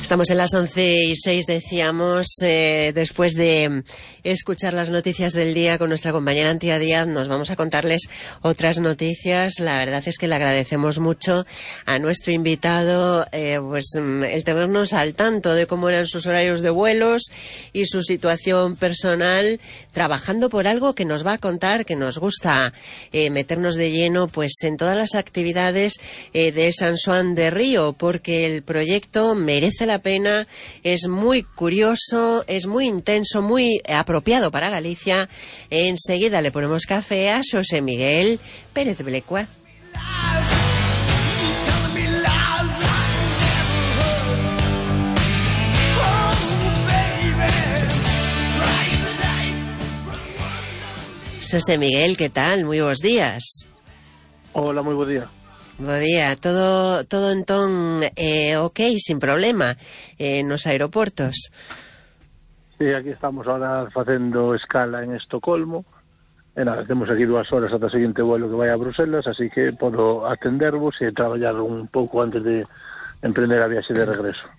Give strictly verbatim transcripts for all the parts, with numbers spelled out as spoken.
Estamos en las once y seis, decíamos, eh, después de escuchar las noticias del día con nuestra compañera Antía Díaz, nos vamos a contarles otras noticias. La verdad es que le agradecemos mucho a nuestro invitado eh, pues el tenernos al tanto de cómo eran sus horarios de vuelos y su situación personal, trabajando por algo que nos va a contar, que nos gusta eh, meternos de lleno pues en todas las actividades eh, de San Xoán de Río, porque el proyecto merece la pena, es muy curioso, es muy intenso, muy apropiado para Galicia. Enseguida le ponemos café a Xosé Miguel Pérez Blecua. Xosé Miguel, ¿qué tal? Muy buenos días. Hola, muy buen día. Bo día, todo todo entón eh, ok, sin problema eh, nos aeroportos. Sí, aquí estamos ahora facendo escala en Estocolmo e nada, temos aquí dúas horas ata o seguinte vuelo que vai a Bruselas, así que podo atendervos e traballar un pouco antes de emprender a viaxe de regreso.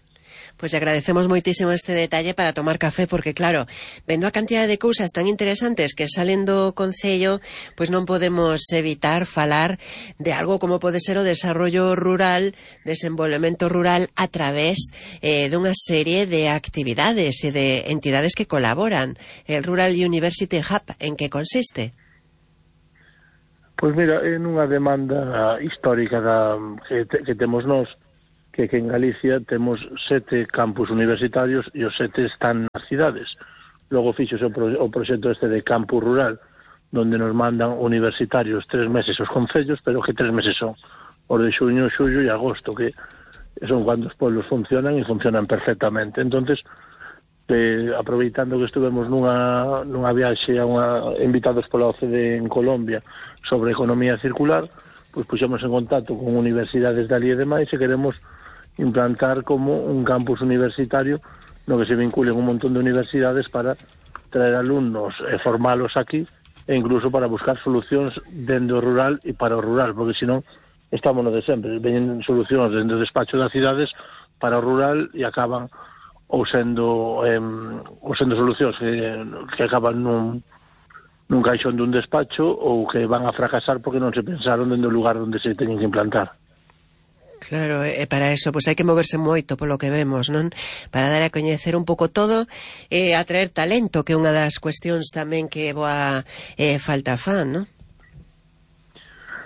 Pues agradecemos moitísimo este detalle para tomar café, porque claro, vendo a cantidad de cousas tan interesantes que salen do Concello, pois non podemos evitar falar de algo como pode ser o desarrollo rural, desenvolvemento rural a través eh, dunha serie de actividades e de entidades que colaboran. El Rural University Hub, en que consiste? Pois mira, é nunha demanda histórica da, que, te, que temos nós, que, que en Galicia temos sete campus universitarios e os sete están nas cidades. Logo fixose o, pro, o proxecto este de campus rural, donde nos mandan universitarios tres meses os concellos, pero que tres meses son os de xuño, xullo e agosto, que son cando os pueblos funcionan e funcionan perfectamente. Entonces, eh, aproveitando que estuvemos nunha, nunha viaxe a unha, invitados pola O C D en Colombia sobre economía circular, pois puxemos en contacto con universidades de ali e demais e queremos implantar como un campus universitario no que se vinculen un montón de universidades para traer alumnos e formalos aquí e incluso para buscar solucións dentro do rural e para o rural, porque senón estamos no de sempre, veñen solucións dentro do despacho das cidades para o rural e acaban ou sendo eh, ou sendo solucións que, que acaban nun, nun caixón dun despacho ou que van a fracasar porque non se pensaron dentro do lugar onde se teñen que implantar. Claro, e para eso pues hai que moverse moito polo que vemos, non? Para dar a coñecer un pouco todo e eh, atraer talento, que é unha das cuestións tamén que boa eh, falta fan, non?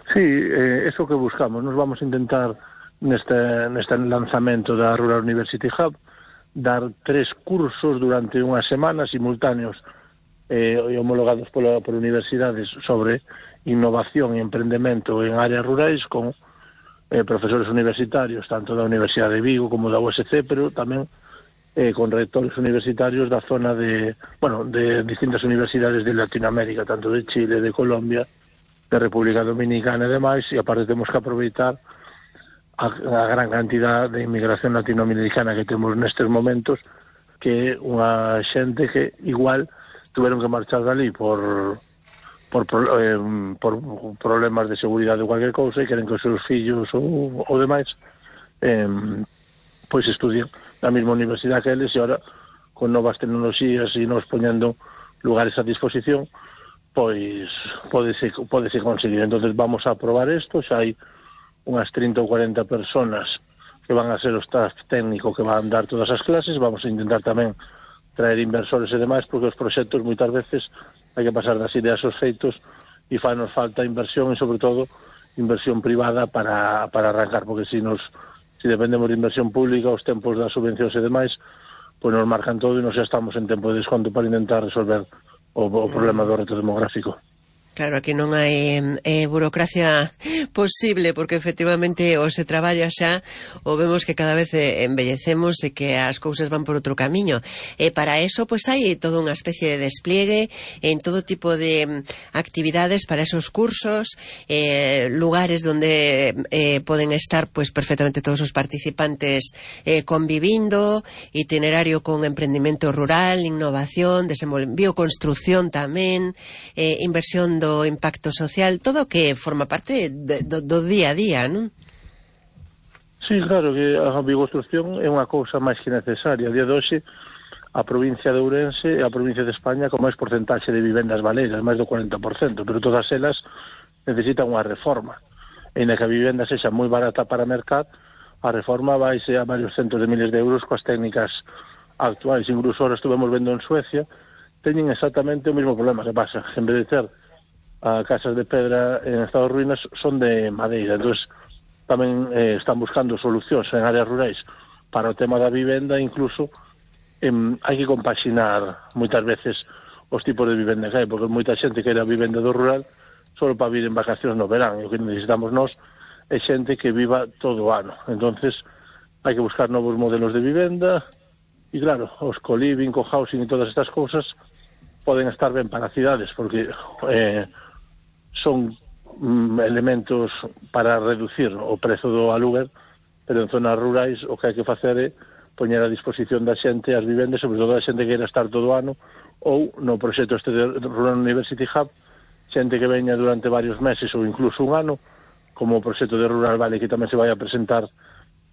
Sí, eh, eso que buscamos. Nos vamos a intentar neste, neste lanzamento da Rural University Hub dar tres cursos durante unha semana simultáneos eh, e homologados pola, por universidades sobre innovación e emprendemento en áreas rurais con Eh, profesores universitarios, tanto da Universidade de Vigo como da U S C, pero tamén eh, con rectores universitarios da zona de, bueno, de distintas universidades de Latinoamérica, tanto de Chile, de Colombia, de República Dominicana e demais, e aparte temos que aproveitar a, a gran cantidad de inmigración latinoamericana que temos nestes momentos, que é unha xente que igual tuveron que marchar dali por... Por, eh, por problemas de seguridade ou cualquier cousa e queren que os seus fillos ou, ou demais eh, pois estudien na mesma universidade que eles, e ahora con novas tecnoloxías e nos poñendo lugares a disposición pois podese, podese conseguir. Entonces vamos a probar isto, xa hai unhas trinta ou cuarenta personas que van a ser o staff técnico que van dar todas as clases. Vamos a intentar tamén traer inversores e demais, porque os proxectos moitas veces hai que pasar das ideas aos feitos e fanos falta inversión e, sobre todo, inversión privada para, para arrancar, porque se nos, si dependemos de inversión pública, os tempos das subvencións e demais, pois nos marcan todo e nos xa estamos en tempo de desconto para intentar resolver o, o problema do reto demográfico. Claro, aquí non hai eh, burocracia posible, porque efectivamente o se traballa xa, ou vemos que cada vez embellecemos e que as cousas van por outro camiño. E para eso, pois hai toda unha especie de despliegue en todo tipo de actividades para esos cursos, eh, lugares donde eh, poden estar pois perfectamente todos os participantes eh, convivindo, itinerario con emprendimento rural, innovación, bioconstrucción tamén, eh, inversión do impacto social, todo que forma parte de, do, do día a día, non? Sí, claro que a bioconstrucción é unha cousa máis que necesaria. A día de hoxe, a provincia de Ourense é a provincia de España con máis porcentaxe de vivendas baleiras, máis do cuarenta por cento, pero todas elas necesitan unha reforma. E na que a vivenda sexa moi barata para mercat, a reforma vaise a varios centos de miles de euros coas técnicas actuais. Incluso ahora estuvemos vendo en Suecia, teñen exactamente o mesmo problema. Que pasa? En vez de ter a casas de pedra en estado de ruínas, son de madeira. Entón, tamén eh, están buscando solucións en áreas rurais para o tema da vivenda. Incluso eh, hai que compaxinar moitas veces os tipos de vivenda que hai, porque moita xente que era vivenda do rural só para vir en vacacións no verán, e o que necesitamos nós é xente que viva todo o ano. Entonces hai que buscar novos modelos de vivenda, e claro, os co-living, co-housing e todas estas cousas poden estar ben para cidades, porque eh, son elementos para reducir o prezo do aluguer, pero en zonas rurais o que hai que facer é poñer a disposición da xente as vivendas, sobre todo a xente que queira estar todo o ano, ou no proxecto este de Rural University Hub, xente que veña durante varios meses ou incluso un ano, como o proxecto de Rural Valley, que tamén se vai a presentar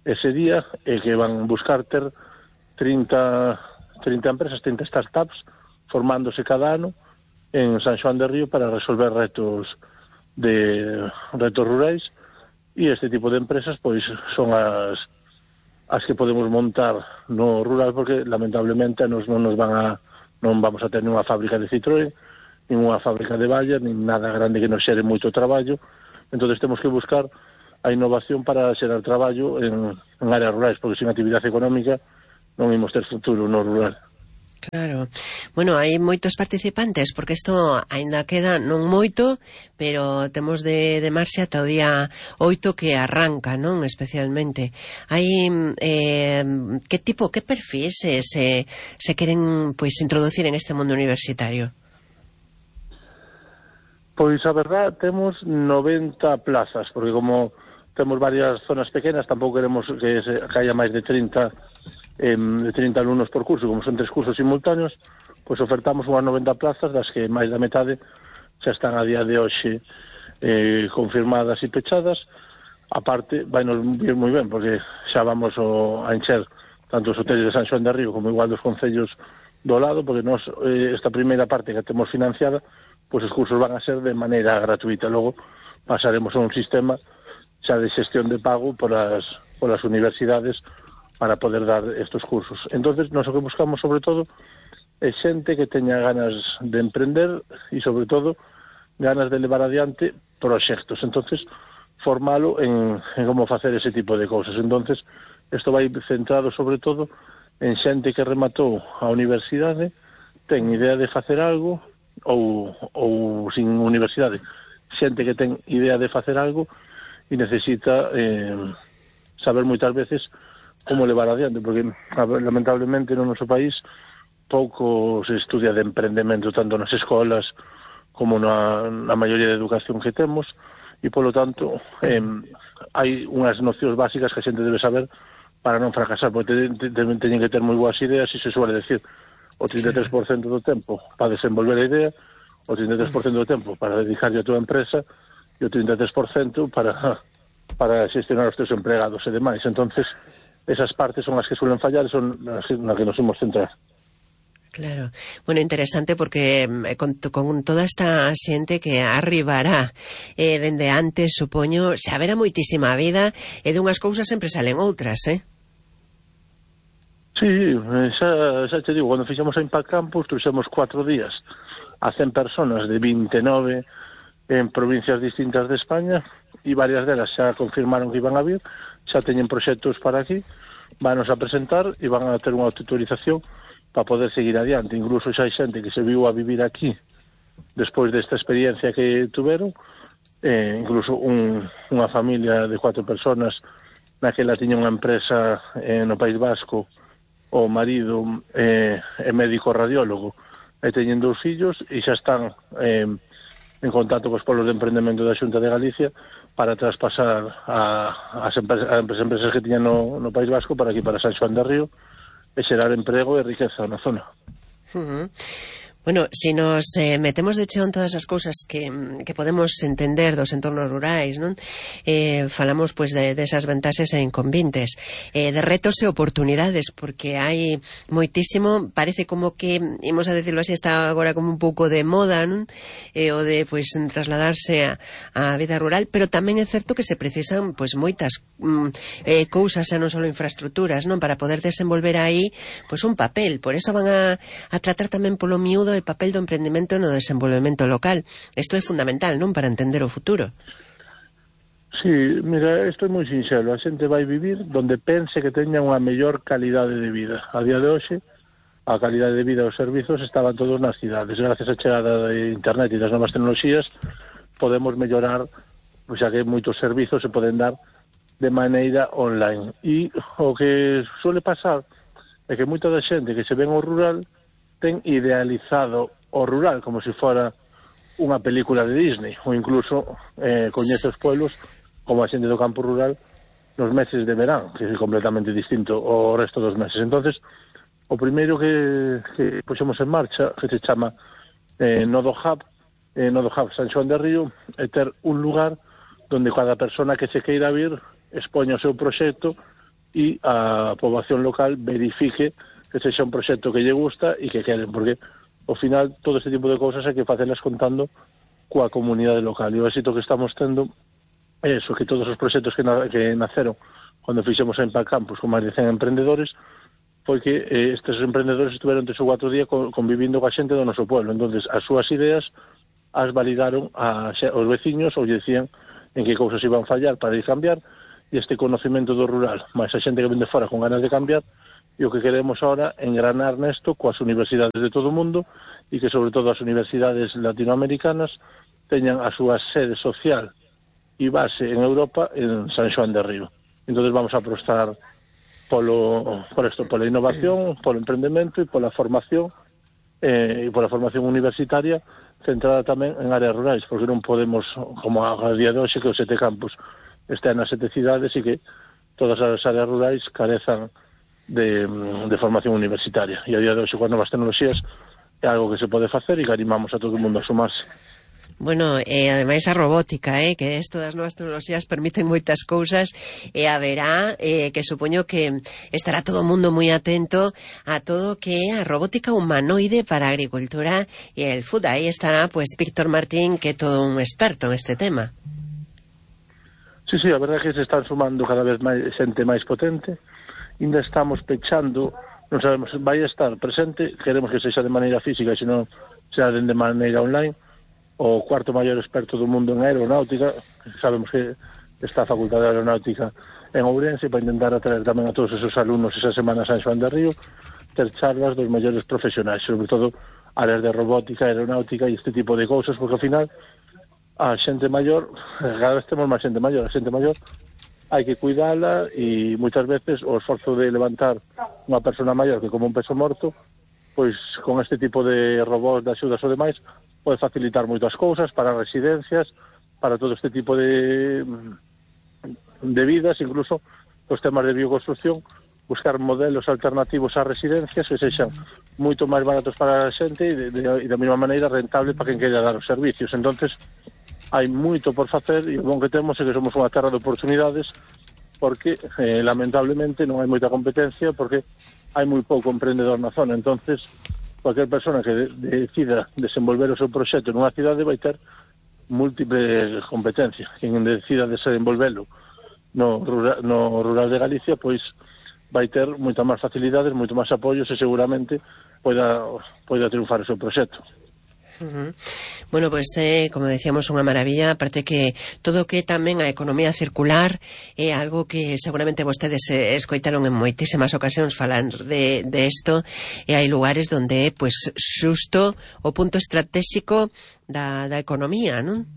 ese día, e que van buscar ter trinta, trinta empresas, trinta startups formándose cada ano en San Xoán de Río para resolver retos de retos rurais, e este tipo de empresas pois son as as que podemos montar no rural, porque lamentablemente nos non nos van a non vamos a ter nunha fábrica de Citroën, nin unha fábrica de Bayer, nin nada grande que nos xere moito traballo. Entón temos que buscar a innovación para xerar traballo en, en áreas rurais, porque sin actividade económica non imos ter futuro no rural. Claro. Bueno, hai moitos participantes, porque isto aínda queda non moito, pero temos de, de marxe ata o día oito que arranca, non? Especialmente. Hai eh, que tipo, que perfis se, se, se queren pois introducir en este mundo universitario? Pois a verdad, temos noventa plazas, porque como temos varias zonas pequenas, tampouco queremos que, se, que haya máis de trinta eh, de trinta alumnos por curso. Como son tres cursos simultáneos, pois ofertamos unhas noventa plazas, das que máis da metade xa están a día de hoxe eh, confirmadas e pechadas. A parte, vai nos vir moi ben, porque xa vamos o, a encher tanto os hoteles de San Xoán de Río como igual dos concellos do lado, porque nos, eh, esta primeira parte que temos financiada, pois os cursos van a ser de maneira gratuita. Logo pasaremos a un sistema xa de xestión de pago por as, por as universidades para poder dar estos cursos. Entonces, nós o que buscamos sobre todo é xente que teña ganas de emprender e sobre todo ganas de levar adiante proxectos. Entonces, formalo en, en como facer ese tipo de cousas. Entonces, isto vai centrado sobre todo en xente que rematou a universidade, ten idea de facer algo, ou, ou sin universidade, xente que ten idea de facer algo e necesita eh, saber moitas veces como levar adiante, porque lamentablemente no noso país pouco se estudia de emprendemento, tanto nas escolas como na, na maioría de educación que temos, e polo tanto eh, hai unhas nocións básicas que a xente debe saber para non fracasar, porque te, te, te, teñen que ter moi boas ideas, e se suele decir o trinta e tres por cento do tempo para desenvolver a idea, o trinta e tres por cento do tempo para dedicarlle a tua empresa, e o trinta e tres por cento para para xestionar os teus empregados e demais. Entonces, esas partes son as que suelen fallar e son as na que nos imos centrar. Claro. Bueno, interesante porque con, con toda esta xente que arribará eh, dende antes, supoño, xa haberá moitísima vida e dunhas cousas sempre salen outras, eh? Sí, xa, xa te digo, cando fixemos a Impact Campus, trouxemos cuatro días a cen personas de vinte e nove en provincias distintas de España, e varias delas xa confirmaron que iban a vir, xa teñen proxectos para aquí, vanos a presentar e van a ter unha autorización para poder seguir adiante. Incluso xa hai xente que se viu a vivir aquí despois desta experiencia que tuveron, eh, incluso un, unha familia de cuatro personas naquela tiña unha empresa eh, no País Vasco, o marido eh, é médico radiólogo e teñen dous fillos e xa están eh, en contacto cos polos de emprendemento da Xunta de Galicia para traspasar a, as empresas, a empresas que tiñan no, no País Vasco para aquí, para San Xoán de Río, e xerar emprego e riqueza na zona. Uh-huh. Bueno, si nos eh, metemos de cheo en todas as cousas que, que podemos entender dos entornos rurais, non? Eh, falamos, pois, de, de esas vantaxes e inconvenientes, eh, de retos e oportunidades, porque hai moitísimo, parece como que, imos a decirlo así, está agora como un pouco de moda, non? Eh, o de, pois, trasladarse a, a vida rural, pero tamén é certo que se precisan, pois, moitas mm, eh, cousas, e non só infraestructuras, non? Para poder desenvolver aí, pois, un papel. Por eso van a, a tratar tamén polo miúdo el papel do emprendemento no desenvolvemento local. Isto é fundamental, non? Para entender o futuro. Sí, mira, isto é moi sinxelo. A xente vai vivir donde pense que teña unha mellor calidade de vida. A día de hoxe, a calidade de vida e os servizos estaban todos nas cidades. Gracias á chegada de internet e das novas tecnoloxías, podemos mellorar, pois xa que moitos servizos se poden dar de maneira online. E o que suele pasar é que moita da xente que se ven ao rural ten idealizado o rural como se fora unha película de Disney, ou incluso eh, coñece os pueblos como a xente do campo rural nos meses de verán, que é completamente distinto ao resto dos meses. Entonces, o primeiro que, que puxemos en marcha, que se chama eh, Nodo Hub, eh, Nodo Hub San Xoán de Río, é ter un lugar donde cada persona que se queira vir expoña o seu proxecto e a poboación local verifique que sexa un proxecto que lle gusta e que queren, porque ao final todo este tipo de cousas hai que facelas contando coa comunidade local. E o éxito que estamos tendo é eso, que todos os proxectos que, na, que naceron cando fixemos a Impact Campus con máis de cen emprendedores foi que eh, estes emprendedores estuveron tres ou cuatro días con, convivindo coa xente do noso pueblo. Entonces as súas ideas as validaron a, aos veciños ou lle decían en que cousas iban fallar para ir cambiar, e este conocimento do rural máis a xente que vende fora con ganas de cambiar. E o que queremos ahora engranar nesto coas universidades de todo o mundo e que sobre todo as universidades latinoamericanas teñan a súa sede social e base en Europa en San Xoán de Río. Entón vamos a apostar polo, por esto, pola innovación, polo emprendemento e pola formación eh, e pola formación universitaria centrada tamén en áreas rurais, porque non podemos, como a día de hoxe, que os sete campus estén nas sete cidades e que todas as áreas rurais carezan De, de formación universitaria. E a día de hoxe, coas novas tecnoloxías, é algo que se pode facer e que animamos a todo o mundo a sumarse. Bueno, e eh, ademais a robótica, eh, que isto das novas tecnoloxías permiten moitas cousas, e haberá, eh, que supoño que estará todo o mundo moi atento a todo que é a robótica humanoide para a agricultura e el food. Aí estará, pues, Víctor Martín, que é todo un experto en este tema. Sí, sí, a verdade é que se están sumando cada vez máis xente máis potente. Ainda estamos pechando, non sabemos, vai estar presente, queremos que sexa de maneira física, senón sea de maneira online, o cuarto maior experto do mundo en aeronáutica. Sabemos que está a Facultade de Aeronáutica en Ourense, para intentar atraer tamén a todos esos alumnos esa semana a San Xoán de Río, ter charlas dos maiores profesionais, sobre todo áreas de robótica, aeronáutica e este tipo de cousas, porque ao final a xente maior, cada vez temos máis xente maior, a xente maior hai que cuidala e moitas veces o esforzo de levantar unha persona maior que como un peso morto, pois con este tipo de robots de axudas ou demais pode facilitar moitas cousas para residencias, para todo este tipo de de vidas, incluso os temas de bioconstrucción, buscar modelos alternativos ás residencias que sexan moito máis baratos para a xente e de, de, de da mesma maneira rentable para quen queira dar os servicios. Entonces hai moito por facer e o bom que temos é que somos unha terra de oportunidades, porque eh, lamentablemente non hai moita competencia, porque hai moi pouco emprendedor na zona. Entonces cualquier persona que de, decida desenvolver o seu proxecto nunha cidade vai ter múltiple competencia. Quen decida desenvolvelo no rural, no rural de Galicia, pois vai ter moita máis facilidades, moito máis apoios e seguramente poida, poida triunfar o seu proxecto. Uh-huh. Bueno, pues eh, como decíamos, unha maravilla, aparte que todo o que tamén a economía circular é algo que seguramente vostedes eh, escoitaron en moitísimas ocasións falando de, de esto, e hai lugares donde é pues xusto o punto estratégico da, da economía, non?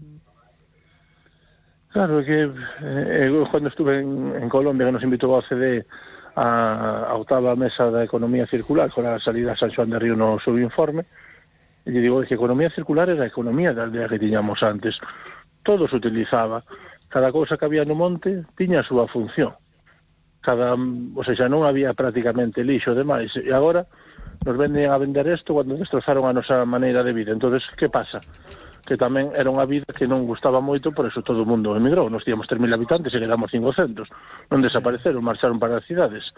Claro, que eh, cando estuve en, en Colombia, que nos invitou a O C D a, a octava mesa da economía circular, con a salida a San Xoán de Río no seu informe, e lle digo que a economía circular era a economía da aldea que tiñamos antes. Todo se utilizaba. Cada cousa que había no monte tiña a súa función. Cada, o sea, xa non había prácticamente lixo demais. E agora nos venden a vender isto cando destrozaron a nosa maneira de vida. Entonces, que pasa? Que tamén era unha vida que non gustaba moito, por eso todo o mundo emigrou. Nos tíamos tres mil habitantes e quedamos cincocentos. Non desapareceron, marcharon para as cidades.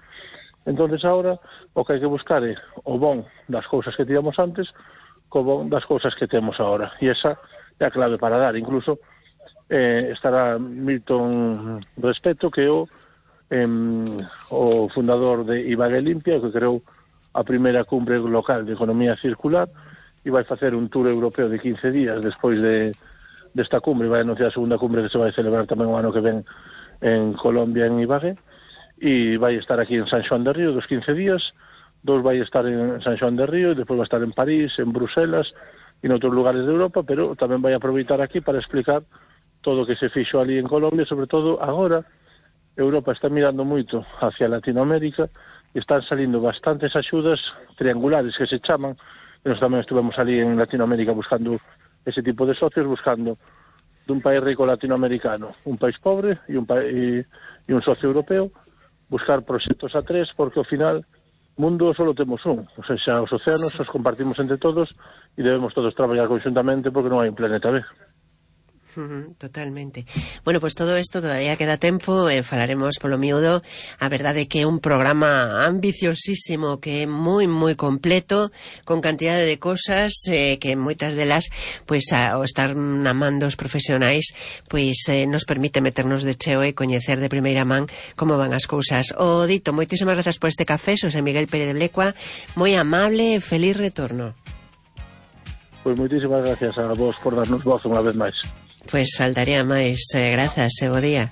Entonces, agora, o que hai que buscar é o bon das cousas que tíamos antes co bon das cousas que temos agora. E esa é a clave para dar. Incluso eh, estará Milton Respeto, que é o, eh, o fundador de Ibagué Limpia, que creou a primeira cumbre local de economía circular, e vai facer un tour europeo de quince días despois de desta cumbre. Vai anunciar a segunda cumbre que se vai celebrar tamén o ano que ven en Colombia, en Ibagué, e vai estar aquí en San Xoán de Río dos quince días, dos vai estar en San Xoán de Río, e despois vai estar en París, en Bruselas e en outros lugares de Europa, pero tamén vai aproveitar aquí para explicar todo o que se fixo ali en Colombia. Sobre todo agora Europa está mirando moito hacia Latinoamérica e están salindo bastantes axudas triangulares que se chaman. Nós tamén estuvemos ali en Latinoamérica buscando ese tipo de socios, buscando dun país rico latinoamericano, un país pobre e un, pa e, e un socio europeo, buscar proxectos a tres, porque ao final mundo só temos un, o sea, os océanos os compartimos entre todos e debemos todos traballar conjuntamente porque non hai un planeta B. Totalmente. Bueno, pues todo isto todavía queda tempo, eh, falaremos polo miúdo. A verdade é que é un programa ambiciosísimo, que é moi moi completo, con cantidade de cosas eh, que moitas delas, pois ao estar na man dos profesionais, pois eh, nos permite meternos de cheo e coñecer de primeira man como van as cousas. O dito, moitísimas grazas por este café, Xosé Miguel Pérez de Blecua, moi amable e feliz retorno. Pois moitísimas gracias a vos por darnos voz unha vez máis. Pois faltaría máis, eh, grazas e bo día.